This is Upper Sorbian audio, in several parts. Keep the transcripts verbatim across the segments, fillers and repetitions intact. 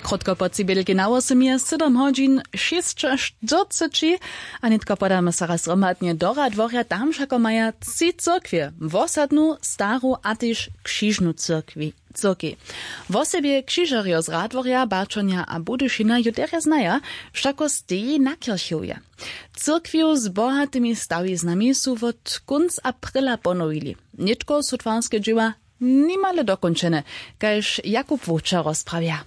Krótko po tři bělki na wosym je sydom hodźin šěsćaštyrceći. A nětko podamy so raz hromadnje do radworja. Tam wšako maja tři cyrkwje, wosadnu, staru a tež křižnu cyrkwi cyrkej. Wosebje křižerjo z radworja, bačonja a budyšina ju derje znaja, wšako steji na kirchewje. Cyrkwju z bohatymi stawiznami su wot kónc aprila ponowili. Nětko su twarske dźěła nimale dokónčene, kaž Jakub Wowčer rozprawja.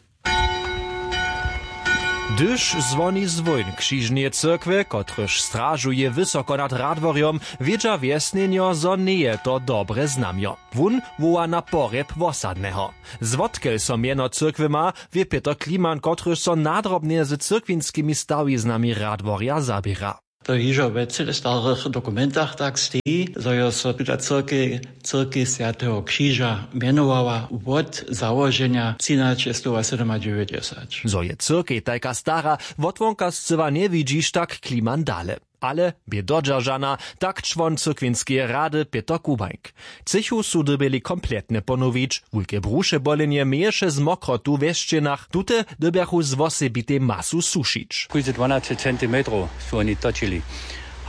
Hdyž zwoni zwón křižneje cyrkwje, kotryž stražuje wysoko nad radworjom, wědźa wjesnjenjo, zo njeje to dobre znamjo. Wón woła na porjeb wosadneho. Zwotkel so mjeno cyrkwje ma, wě Pětr Kliman, kotryž so nadrobnje z cyrkwinskimi stawiznami radworja zaběra. To hižo we cyle starych dokumentach tak steji, zo jo so tuta cyrkej cyrkej swjateho křiža mjenowała wot załoženja třinaćestowasydomadźewjećdźesat. Zo je cyrkej tajka stara, wotwonka scyła njewidźiš, tak Kliman dale. Ale bě dodźeržana, tak čłon cyrkwinskeje rady Pětr Kubańk. Třěchu su dyrbjeli kompletnje ponowić. Wulke bruše bolenje měješe z mokrotu we sćěnach. Tute dyrbjachu z wosebitej masu sušić. Kóžde dwanaće centimetrow su woni točili.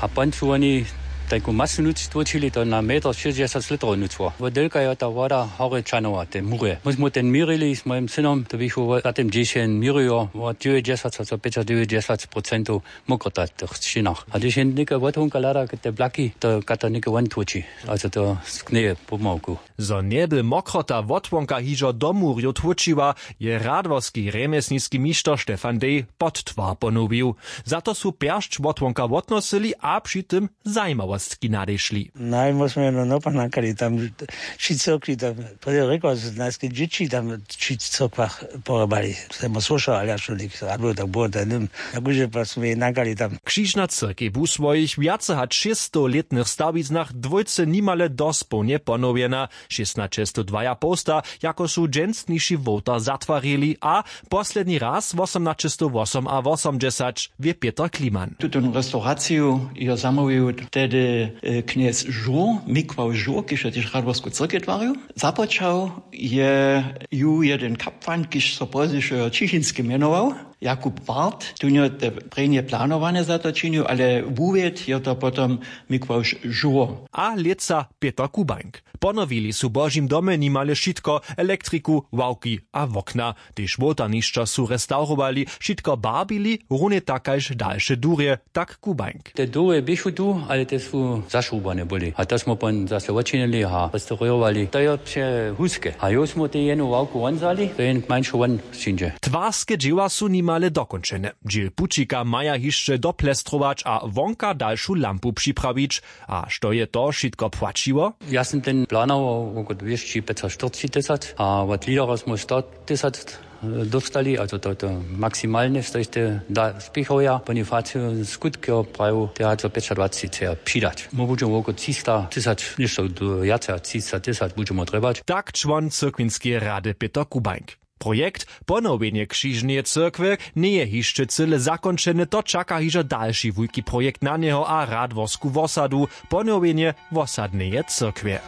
A pon su woni tajku masu nuc tłočili, to na metr šěsćdźesat litrow nucło. Wot delka jo ta woda horje čanowa, te murje. My smy ten měrili z mojim synom, to běchu za tym dźeše měrijo, wot dźewjećdźesat, so pjećadźewjećdźesat procentow mokrota w tych sćěnach. A hdyž je něke wothonka hlada te blaki, to kata něke won tłoči. Also to sknjeje pomałku. Zo njeby mokrota wotwonka hižo do murjow tłóčiła, je radworski rjemjesniski mišter Stefan Dej pod twar ponowił. Za to su pjeršć wotwonka wotnosyli a při tym zajimawostki nadešli. Najmóžmy no nopa nakali tam, tři cyrkwi tam, to je rěkła z najske dźěći tam, tři cyrkwach porobali. Semo słyšał, ale ja šulik radwoj tak było ten nym, jakože pa smy nakali tam. Křižna cyrkej bu w swojich wjace hač šěsćstowlětnych stawiznach dwójce nimale dospołnje ponowjena. Šěstnaćestowdwajapołsta, jako su dźensniši wołtar zatwarili, a posledni raz wosomnaćestowwosomawosomdźesać, wě Pětr Kliman. Tutonu restauraciju jo zamołwił tehdy knjez žur, mikłał žur, kiž jo tež radworsku cyrkej twarił. Započał je ju jedyn kapłan, kiž so pozdźišo čichinski mjenował, jakub wart. Tón jo te prěnje planowane za to činił, ale wuwěd jo to potom mikłał žur. A lětsa Pětr Kubańk. Ponowili su w božim domje nimale wšitko, elektriku, ławki a wokna. Tež wołtarnišća su restawrowali, wšitko barbili, runje tak kaž dalše durje, tak Kubańk. Te durje běchu tu, ale te su zašrubane byli a to smy pon zase wočinili a restaurowali. To jo přehuske a jo smy te jenu ławku won zali, to jen kmańšo won přińdźe. Twarske dźěła su nimale dokónčene. Dźěl pućika maja hišće doplestrować a wonka dalšu lampu připrawić. A što je to wšitko płaćiło? Ja sym ten planował woko dwěsći pjecaštyrceći tysac a wot lidera smy sto tysac dóstali, a to to maksimalne stojšte da spěchowja. Bonifaciju skutk jo prajił, te haco pjećadwaceći chceja přidać. My budźemy woko třista tysac, něšto wjace a třista tysac budźemy trjebać. Tak čłon cyrkwinskeje rady Pětr Kubańk. Projekt ponowjenje křižneje cyrkwje njeje hišće cyle zakónčeny, to čaka hižo dalši wulki projekt na njeho a radworsku wosadu, ponowjenje wosadneje cyrkwje.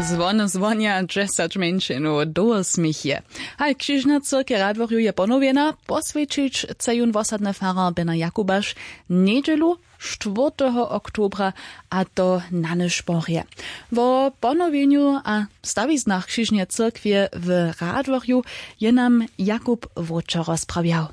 Zwony zwonja, dźesać mjeńšinow dołho směch je. Haj, křižna cyrkej radworju je ponowjena, poswjećić chce jón wosadny farar bena jakubaš njedźelu, štwórteho oktobra, a to na nyšporje. Wo ponowjenju a stawiznach křižneje cyrkwje w radworju je nam jakub wróćo rozprawjał.